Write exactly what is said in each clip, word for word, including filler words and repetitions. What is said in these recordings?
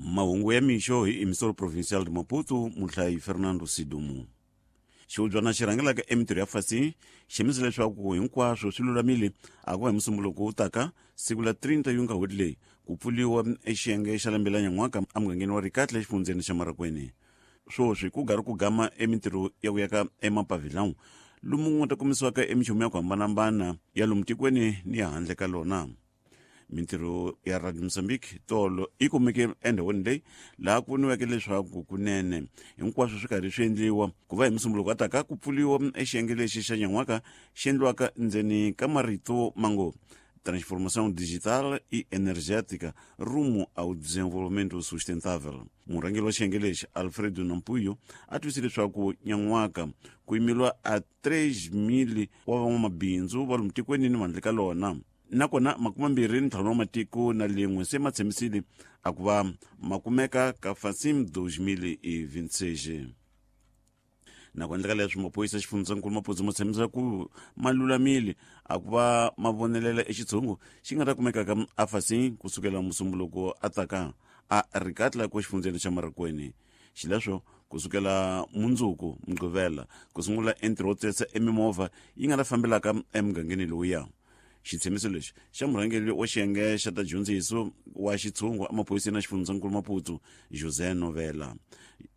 Mahungu ya mixo hi Emissora Provincial de Maputo, muhlayi Fernando Sidumo. Xihubyana xi rhangelaka emintirho ya fasi xi leswaku hinkwaswo swi lulamile a ku va hi Musumbuluko wu taka siku la thirty yunga n'hweti leyi ku pfuliwa exiyenge xa lembe la nyan'waka emugangeni wa Rikatla exifundzeni xa Marikweni. Swoswi ku gari ku gama emintirho ya ku yaka emapavilão lomu ku nga ta kumisiwaka emichumu ya ku hambanahambana ya lomu tikweni ni ya handle ka lona. Mintirho ya Radio Mozambique tolo yi kumeke endhawini leyi laha ku voniweke leswaku kunene hinkwaswo swi karhi swi endliwa ku va hi Musumbuluko taka ku pfuliwa exiyenge lexi xa nyan'waka xi endliwaka ndzeni ka marito mango Transformação Digital e Energética rumo ao Desenvolvimento Sustentável. Murhangeri wa xiyenge lexi Alfredo Nampuyo a twisile leswaku nyan'waka ku yimeliwa a three mil wa van'wamabindzu va lomu tikweni ni handle ka lona. Nakona makume mbirhi ntlhanu wa matiko na lin'we se ma tshembisile a ku va ma kumeka ka Facim dois mil e vinte e seis. Na ku endleka leswi maphorisa xifundzankulu Maputo ma tshembisa ku ma lulamile a ku va ma vonelela exitshungu xi nga ta kumekaka a Facim kusukela Musumbuluko a taka a Rikatla ku xifundzeni xa Marikweni. Xileswo kusukela mundzuku Mugqivela ku sungula entirho wo tsesa emimovha yi nga ta fambelaka emugangeni lowuya. Xitshembiso lexi xa murhangeri wa xiyenge xa ta dyondziso wa xitshungu emaphoriseni ya xifundzankulu Maputo José Novela.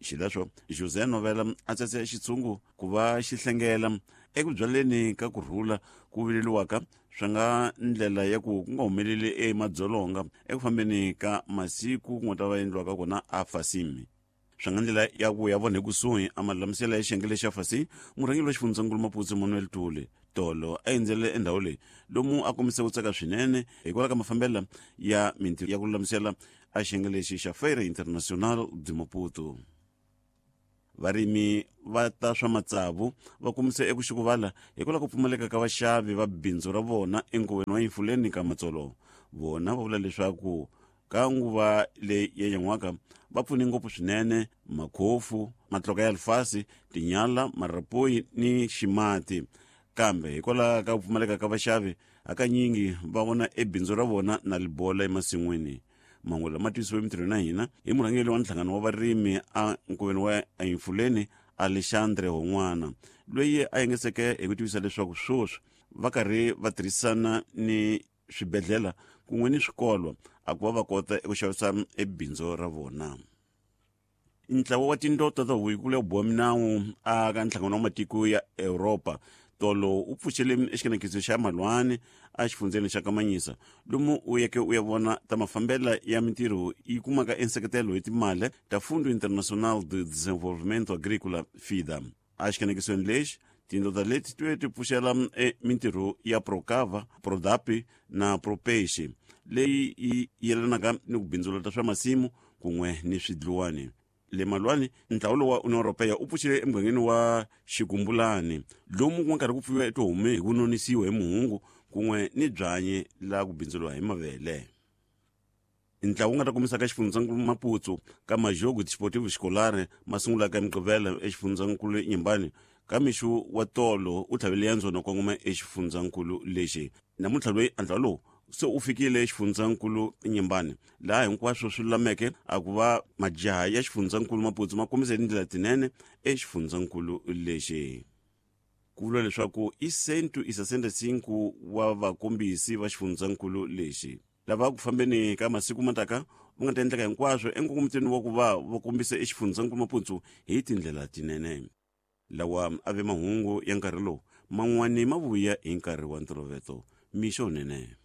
Xileswo José Novela a tsetse xitshungu ku va xi hlengela eku byaleni ka kurhula ku vileliwaka swi nga ndlela ya ku ku nga humeleli emadzolonga eku fambeni ka masiku ku nga ta va endliwaka kona a Facim. Swi nga ndlela ya ku ya vona hi kusuhi a malulamisela ya xiyenge lexa Facim murhangeri wa xifundzankulu Maputo Manuel Tule tolo a endzele endhawu leyi lomu a kombise ku tsaka swinene hikwalaho ka mafambelo ya mintirho ya ku lulamisela a xiyenge lexi xa Feira Internacional de Maputo. Varimi va ta swa matsavu va kombise eku xukuvala hikwalaho ku pfumaleka ka vaxavi va bindzu ra vona enkoveni wa Infuleni ka Matsolo. Vona va vula leswaku ka nguva leyi ya nyan'waka va pfune ngopfu swinene makhofu, matluka ya lifasi, tinyala, marapoyi ni ximati. Kambe hikwalaho ka ku pfumaleka ka vaxavi hakanyingi va vona ebindzu ra vona na libola emasin'wini. Mahungu lama tisiwe emintirhweni ya hina hi murhangeri wa nhlangano wa varimi a nkoveni wa Infuleni Alexandre Hon'wana loyi a yengeseke hi ku tivisa leswaku swoswi va karhi va tirhisana ni swibedhlele kun'we ni swikolo a ku va va kota eku xavisa ebindzu ra vona. Ntlawa wa tindota ta huvo ya boha minawu a ka nhlangano wa matiko ya Europa tolo u pfuxele exikenekiso xa Malwani a xifundzeni xa Kamanyisa lomu u yeke u ya vona ta mafambela ya mintirho yi kumaka enseketelo hi timali ta Fundo Internacional de Desenvolvimento Agrícola FIDA. A xikenekisweni lexi tindota leti ti ti pfuxela mintirho ya Procava, Prodapi na Propeixe leyi yi yelanaka ni ku bindzula ta swa masimu kun'we ni swidluwani. Le Malwani ntlawa wa Union Europea u pfuxile emugangeni wa Xikumbulani lomu ku nga karhi ku pfuyiwa etihomu hi ku nonisiwa hi muhungu kun'we ni byanyi laha ku bindzuriwa hi mavele. Ntlawa wu nga ta kombisaka xifundzankulu Maputo ka Majogo Desportivo Escolar ma sungulaka hi Mugqivela exifundzankulu Nyimbani ka mixo wa tolo u tlhavele ya ndzona kongoma exifundzankulu lexi. Namuntlha loyi ntlawa lowu se u fikile xifundzankulu Nyimbani laha hinkwaswo swi lulameke a ku va majaha ya xifundzankulu Maputo ma kombise tindlela tinene exifundzankulu lexi. Ku vula leswaku i cento e sessenta e cinco wa vakombisi va xifundzankulu lexi lava ku fambeni ka masiku mataka va nga ta endleka hinkwaswo enkongomitweni wa ku va va kombisa exifundzankulu Maputo hi tindlela tinene. Lawa a ve mahungu ya nkarhi lowu man'wani ma vuya hi nkarhi wa ntolovelo. Mixo nene.